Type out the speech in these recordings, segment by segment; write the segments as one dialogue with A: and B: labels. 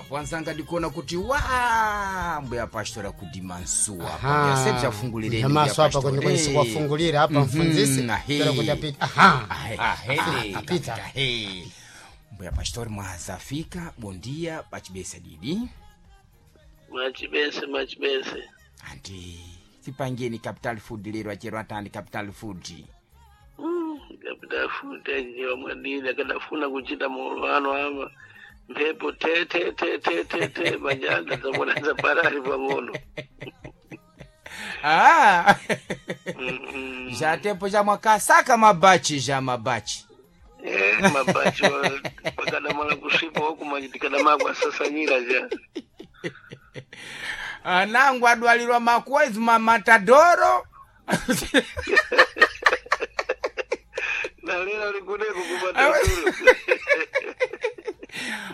A: Apo anzanga ndikuona kuti wa mbuya pastora kudimansuwa apa sebzafungulireni
B: Nyamaso apa kwenikweni kuwafungulira apa mfunzisi
A: ahe.
B: pero kuti apita aha
C: Ahede.
B: apita
A: Ahe. Mbuya pastori mwazafika bondia pachibesa didi
D: Machibese, machibese.
A: anti tipangeni capital food lero achero atani capital food.
D: Capital food ajiwa mwadini akadafuna kuchita muulwano ama mphepo te te te te te te majanda zamona zaparali pang'ono.
A: Ah.
D: Mm,
A: Jatepo ja mwakasaka mabachi ja mabachi.
D: Eh, mabachi pakadamala kusvipa wakumachitikadamala kwasasanyira ja.
A: Anangu adwalirwa makwezi mamatadoro.
D: Nalera likuneko kumatadoro.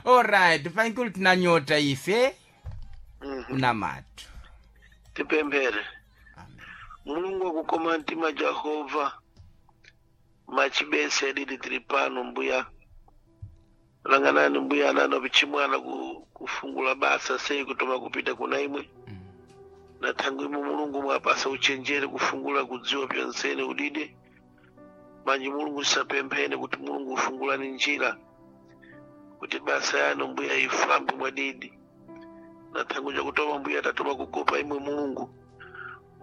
A: Alright, pankulu tinanyota ife unamatu.
D: Tipemphere. Mulungu wakukoma mtima Jehova machibese adidi tiri pano mbuya langanani mbuya anano pichimwana kufungula basa sei kutoma kupita kuna imwe na thangu imwe Mulungu mwapasa uchenjere kufungula kudziwa pyonsene udide manji Mulungu tisapemphene kuti Mulungu ufungulani njira kuti basa yanu mbuya ifambe mwadidi na thangu jakutoma mbuya tatoma kukopa imwe Mulungu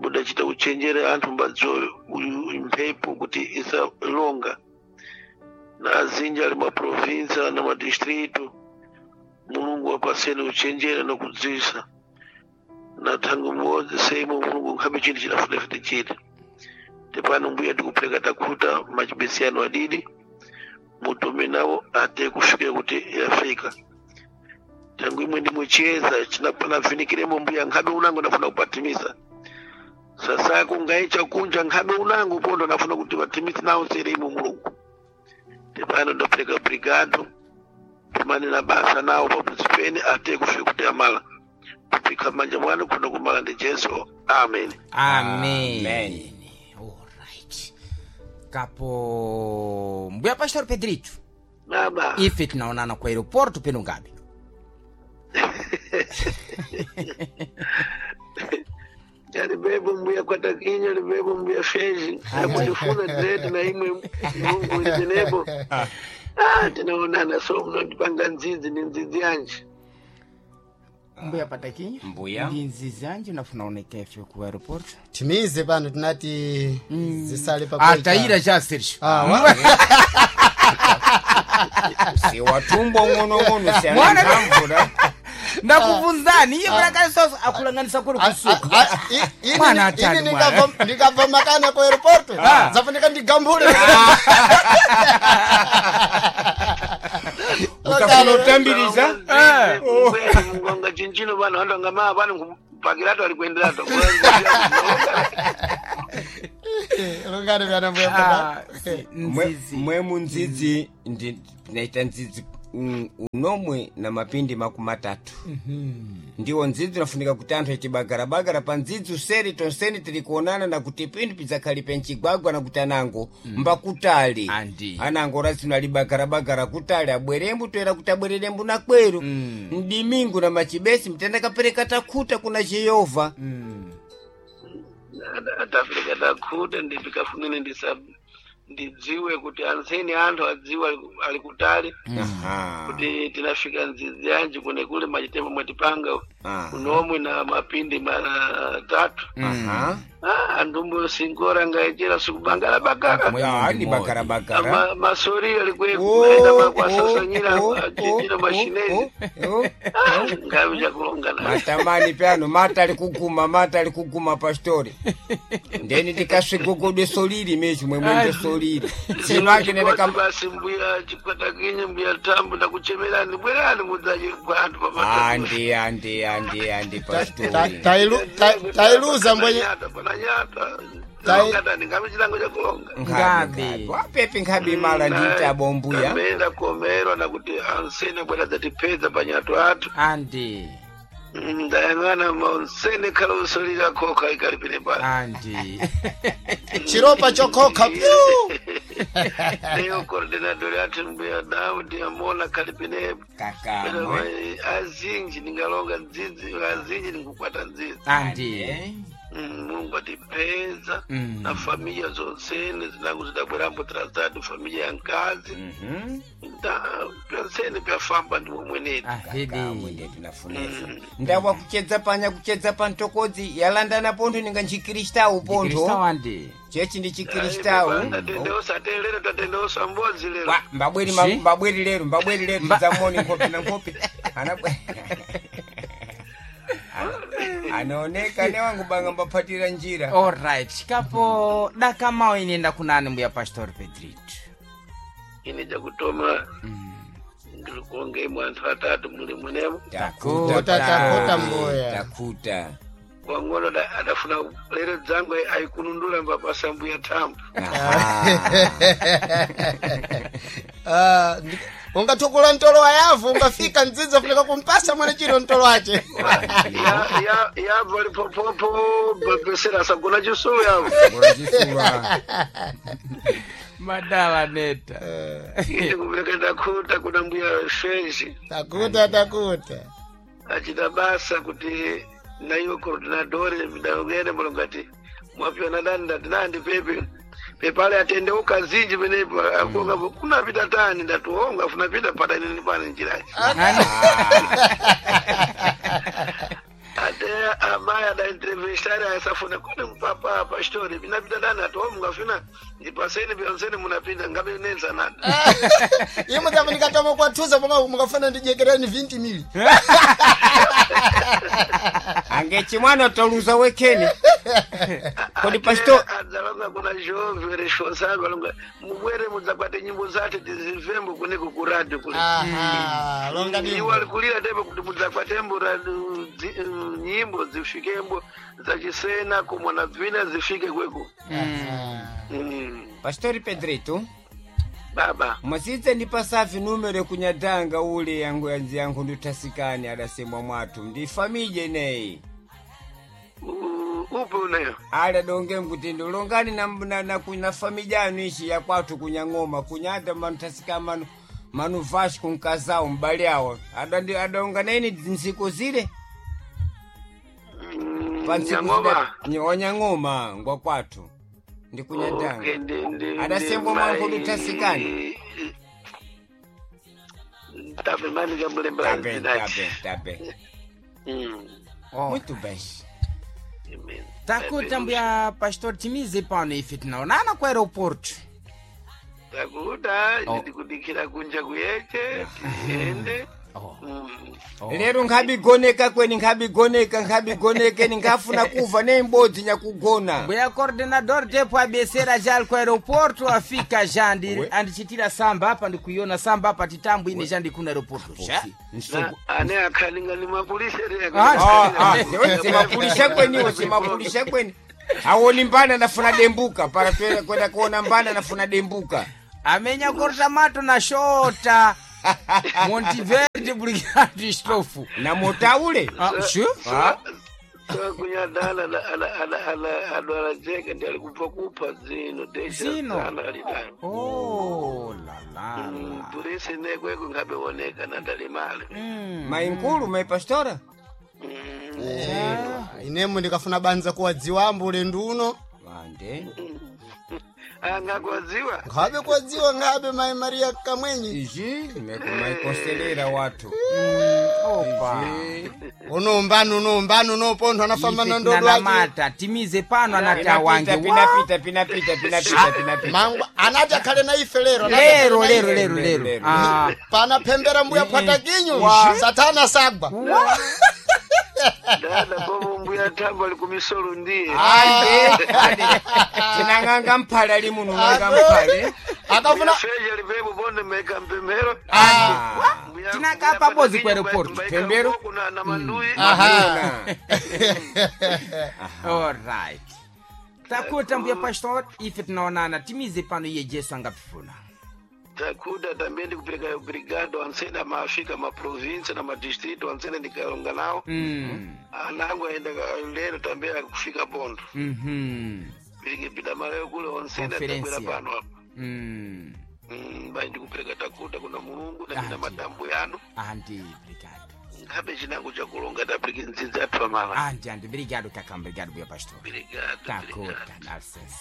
D: budachita uchenjere anthu mbadziwa uyu mphepo kuti isalonga na azinji ali maprovinsa na madistritu Mulungu wapaseni uchenjere nokudzisa na thangu mmodzi seimwe Mulungu nkhabe chinthu chinafunafuna chiti tepano mbuya tikupereka takhuta machibesi anu adidi mutume nawo ate kufikira kuti yafika thangu imwe ndimwe chiyeza chinapanavinikiremo mbuya nkhabe unango ndafuna kupatimisa sasa kungaicha kunja nkhabe unango pondo nafuna kuti vatimisi nawo sere imwe Mulungu tepano ndapereka brigado tumane na basa nawo papuzi pene ate kufika kuti amala kupika manja mwana kuno kumala ndi Jesu amen.
A: Amen.
C: Amen.
A: Alright. Kapo mbuya pastor Pedrito.
D: Baba
A: Ife tinaonana kwa aeroporto peno ngabe.
D: Alibebo mbuya kwatakinya alibebo mbuya feji akundifuna direti na imwe Mulungu ndinebo ah tinaonana so mnondipanga nzizi ni nzizi yanje
A: Mbuya patakinya.
C: Mbuya.
A: Ndi nzizi anje nafuna oneka ife ku aeroporto.
B: timize pano tinati zisale pakuita.
A: Ataira ja Sergio.
B: Ah, wa-
C: Siwatumbo ng'onong'ono
A: Mwana-
C: sianamvura.
A: Ndakuvunzani iye mwana soso akulanganisa kuri
B: Ah,
A: kusuka.
B: ah, ini-
A: Mwana atani,
B: ini
A: mwana.
B: ndikabva makana ku aeroporto zafunika ndigambule.
C: Utafuna utambiriza?
D: Mungonga chinchino vanhu vandonga maa vano kupakirato ari kuenderato.
B: Lungani vyana mbuya
A: Ah,
B: pata.
A: nzizi.
C: Mwe munzizi tinaita nzizi unomwe na mapindi 30. Ndiwo nzizi unafunika kuti anthu achibagarabagara pa nzizi useri tonseni tili kuonana na kuti pindu pidzakhalipe mchigwagwa na kuti anango mbakutali.
A: Andi.
C: Anango razino alibagarabagara kutali abwerembu toera kuti abwererembu na kweru mdimingu na machibesi mtenda kapereka takhuta kuna Jehova.
D: Atafika takhuta ndipikafunene ndidziwe kuti anseni anthu adziwe ali kutali
C: Aha.
D: kuti tinafika nzizi yanji kune kule machitembo mwatipanga
C: Aha.
D: unomwe na mapindi matatu.
C: Aha.
D: Ah, andumbo singora ngaechera sikubangala bagara.
A: Mwe
C: Ah,
A: mundi
C: ni
A: modi.
C: bagarabagara.
D: Masori alikwe
C: Oh,
D: kuenda
C: oh,
D: makwasasanyira
C: oh,
D: chinjira
C: oh,
D: mashinezi
C: oh, oh.
D: ngavi chakulonga na
C: Matamani pyano mata alikuguma mata alikuguma pastori ndeni ndikasvigogodwe solili mechi mwe mwende solili zino ake nendeka
D: basi mbuya chikwatakinye mbuya tambu ndakuchemerani bwerani mudzaje kwantu pamata
C: andi andi andi andi pastori
B: Tailuza mbwenye
D: pananyata
B: Tai-
D: ngatani ngavi chilango chakulonga
A: Ngabe.
C: wapepi nkhabe imala nditabo mbuya
D: Ndamenda kuomerwa nakuti ansene bwera dzatipedza panyato athu.
A: Andi.
D: Ndayang'ana maonsene khala usolira khoka ikalipire pano.
A: Andi.
B: chiropa chokhoka pyu.
D: Leo coordinador ati mbuya Daudi amona kalipine
C: Kakamwe.
D: Azinji ningalonga ndzidzi, azinji ningukwata ndzidzi.
A: Andi.
D: Mungu atipeza na familia zonsene zinangu zidabwerambo trazado familia ya nkazi pyonsene pyafamba ndi momweneti.
C: Kakamwe
A: Ahidi.
C: ndiye tinafunesa. Ndawa kuchedza panya kuchedza pa ntokodzi yalandana pontho ninga nchikristau
A: Kristo
C: pontho.
A: andi.
C: Chechi ndi chikristau.
D: Tatendeosa te lero tatendeosa mbodzi lero.
C: Wa, mbabweri
A: Si?
C: mbabweri lero mbabweri lero tidzamoni nkhope na nkhope. Anaoneka ne wangu banga mbaphatira njira.
A: Alright. Kapo dakamao inenda kunani mbuya Pastor Pedrito.
D: Ine jakutoma ndilikuonge imwe anthu atatu muli mwenemo.
C: Takuta
B: Takuta mbuya.
C: Takuta.
D: Wang'ono adafuna lero dzangu aikunundula mbapasa mbuya thambo.
B: Ah, ungathukula ntolo wa yavu ungafika mdzidzi afunika kumpasa mwana chiro ntolo wace.
D: Yabva lipopopo bapesera asagona chisulu yavo.
C: Ngora chisuwa.
A: Madala neta.
D: Ine kupereka ndakuta kuna mbuya fenji.
B: Takuta takuta.
D: Achita basa kuti naiwe coordinadore midalogene mulongati mwapiona dani ndati nandi pepe pepale atendeuka zinji penepo akonga kunapita tani ndati onga funapita pata inini pane njirayi ate amayi adaintrevestari asafuna kone mpapa pastori pinapita dani ati o mungafuna ndipaseni pyonseni munapita ngabe nenza nani.
B: Imwe dzafunika toma kwathuza pomwe mukafuna ndijekereni 20 mili.
C: Ange chimwana toluza wekeni. Kodi pastor
D: adzalonga kuna jove responsable alonga mubwere mudzakwate nyimbo zate tizimvembo kuneko ku radio kule.
B: Aha, longa
D: iwo
B: ndimbo.
D: alikulira tepo kuti mudzakwate nyimbo zifikembo zachisena kumwana bvina zifike kweko.
C: Pastori Pedrito
D: Baba
C: mwazidze ndi pasafi numero kunyadanga ule yangu yanzi yangu ndutasikani adasemwa mwathu ndi famije ineyi.
D: Upi uneyo?
C: Ali adonge mkuti ndilongani na famija yanu ichi ya kwathu kunyang'oma kunyada manutasikani manu manu vashi kunkazawo mbali awo adonga naini ntsiku zile. Pa ntsiku
D: Nyang'oma?
C: Wanyang'oma ngwa kwathu ndi kunyadanga.
D: Okay,
C: Adasembwa mwangu ndutasikani.
D: Tabe mani kamulembera
C: Tabe tabe tabe.
A: Oh.
C: Muito bem.
D: Amen.
A: Takuta mbuya Pastor timize pano ife tinaonana ku aeroporto.
D: Takuta
A: Oh.
D: ndikudikira kunja kuyeche tiende.
A: Oh.
C: Lero nkhabigoneka kweni nkhabigoneka nkhabigonekeni nkhafuna kuva neimbodzi nyakugona.
A: Mbuya coordenador tepo abesera já ali ku aeroporto afika já andichitira samba apa ndikuiona samba apa titambo ine já ndikuna aeroporto já.
D: Ane akhalinga ni mapulisa
A: Ah,
C: Simapulisha kweniwo simapulisha kweni awoni mbana nafuna dembuka para kwenda kuona mbana nafuna dembuka.
A: Amenya korta mato na shota. Montiverde brigade estofo.
C: Na motaule.
A: Ah, sure.
D: Kunyadala adwala jeke ndi alikupha kupha zino
A: Zino.
D: alidani.
A: Oh la la. la.
D: Polisi nekweko nkhabeoneka nadalimale.
C: Mainkulu maipastora.
B: Inemo ndikafuna banza kuwadziwa ambu ulendo uno.
C: Vande.
D: Angakwadziwa
B: Nkhabe kuwadziwa nkhabe mai Maria Kamwenyi.
C: Izvi maikonselera wathu.
A: Opa.
C: Izvi.
B: Uno mbani uno mbani uno pontho anafamba na
A: Ife
B: ndodo ake.
A: tinanamata timize pano anati awange
C: Pinapita pinapita pinapita pinapita.
B: Mangu anati akhale na ife lero. anati akhale
A: lero
B: na
A: lero
B: ife.
A: lero lero
C: Lero.
A: Ah,
B: Panapembera mbuya phwatakinyu satana sagwa.
D: dada popo mbuya thambo ali kumisolo ndiye.
C: Ande ande. Tinang'anga mphale ali muno ng'anga mphale.
B: Akafuna
D: Feja lipepo bonde meka mpemero.
A: Tinakapa bozi ku aeroporto.
C: Pembero.
D: Kuna na mandui.
B: Aha.
A: alright takuta mbuya pastor ife tinaonana timize pano iye Jesu angapifuna.
D: Takuda tambe ndikupereka obrigado ansene amafika maprovinsi na madistrito ansene ndikalonga nawo. Anangu aenda lero tambe akufika bondo. Piringipita malayo kule onsene
A: Conferência.
D: atabwera pano apa. Bai ndikupereka takuta kuna Mulungu na mina
A: Ah,
D: matambo yanu.
A: Andi, obrigado.
D: Nkhabe chinango chakulonga tapirike ndzidzi athu amala.
A: Andi, andi, obrigado, Cacá, obrigado, meu pastor.
D: Obrigado.
A: Takuta,
D: Obrigado.
A: dá licença.